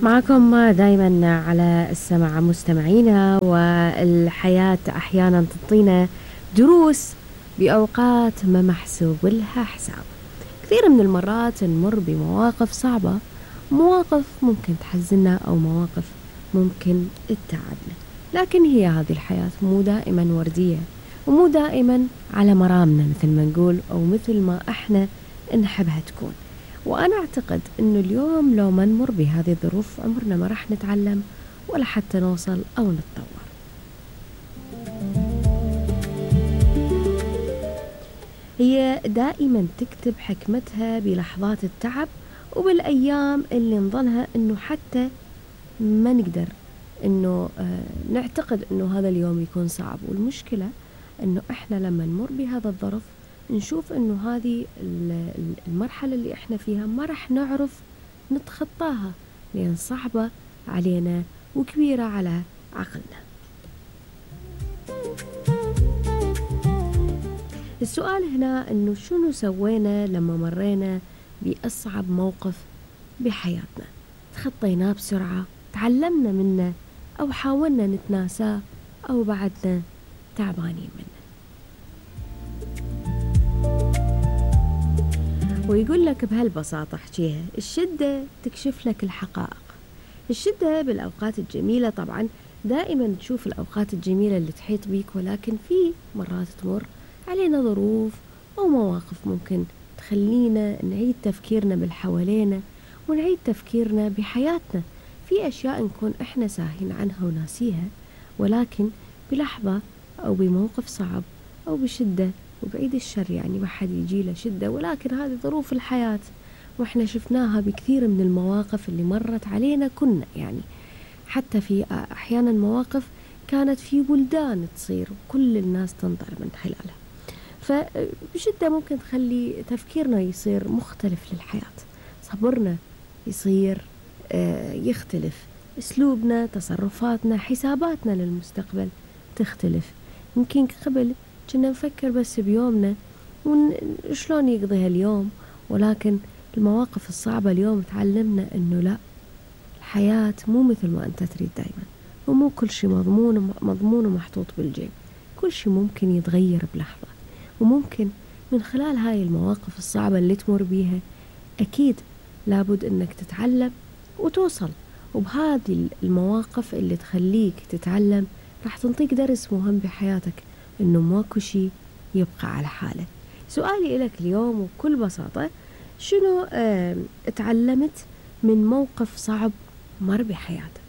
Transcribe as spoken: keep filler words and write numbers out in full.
معكم دايما على السمع مستمعينا، والحياة أحيانا تعطينا دروس بأوقات ما محسوب لها حساب. كثير من المرات نمر بمواقف صعبة، مواقف ممكن تحزننا أو مواقف ممكن تتعبنا، لكن هي هذه الحياة مو دائما وردية ومو دائما على مرامنا مثل ما نقول أو مثل ما احنا نحبها تكون. وأنا أعتقد أنه اليوم لو ما نمر بهذه الظروف عمرنا ما راح نتعلم ولا حتى نوصل أو نتطور. هي دائما تكتب حكمتها بلحظات التعب وبالأيام اللي نظنها أنه حتى ما نقدر أنه آه نعتقد أنه هذا اليوم يكون صعب. والمشكلة أنه إحنا لما نمر بهذا الظرف نشوف أنه هذه المرحلة اللي إحنا فيها ما رح نعرف نتخطاها لأن صعبة علينا وكبيرة على عقلنا. السؤال هنا أنه شنو سوينا لما مرينا بأصعب موقف بحياتنا؟ تخطيناه بسرعة، تعلمنا منه، أو حاولنا نتناساه، أو بعدنا تعبانين منه. ويقول لك بهالبساطة احكيها، الشدة تكشف لك الحقائق. الشدة بالأوقات الجميلة طبعا دائما تشوف الأوقات الجميلة اللي تحيط بيك، ولكن في مرات تمر علينا ظروف أو مواقف ممكن تخلينا نعيد تفكيرنا بالحوالينا ونعيد تفكيرنا بحياتنا في أشياء نكون إحنا ساهين عنها وناسيها، ولكن بلحظة أو بموقف صعب أو بشدة، وبعيد الشر يعني ما حد يجي له شدة، ولكن هذه ظروف الحياة وإحنا شفناها بكثير من المواقف اللي مرت علينا. كنا يعني حتى في أحيانا مواقف كانت في بلدان تصير وكل الناس تنظر من خلالها، فبشدة ممكن تخلي تفكيرنا يصير مختلف للحياة، صبرنا يصير يختلف، أسلوبنا، تصرفاتنا، حساباتنا للمستقبل تختلف. يمكن قبل كنا نفكر بس بيومنا وشلون يقضي هاليوم، ولكن المواقف الصعبة اليوم تعلمنا أنه لا، الحياة مو مثل ما أنت تريد دايما، ومو كل شيء مضمون مضمون ومحطوط بالجيب، كل شيء ممكن يتغير بلحظة. وممكن من خلال هاي المواقف الصعبة اللي تمر بيها أكيد لابد أنك تتعلم وتوصل، وبهذه المواقف اللي تخليك تتعلم راح تنطيك درس مهم بحياتك، إنه ماكو شيء يبقى على حاله. سؤالي لك اليوم وبكل بساطة، شنو اه تعلمت من موقف صعب مر بحياتك؟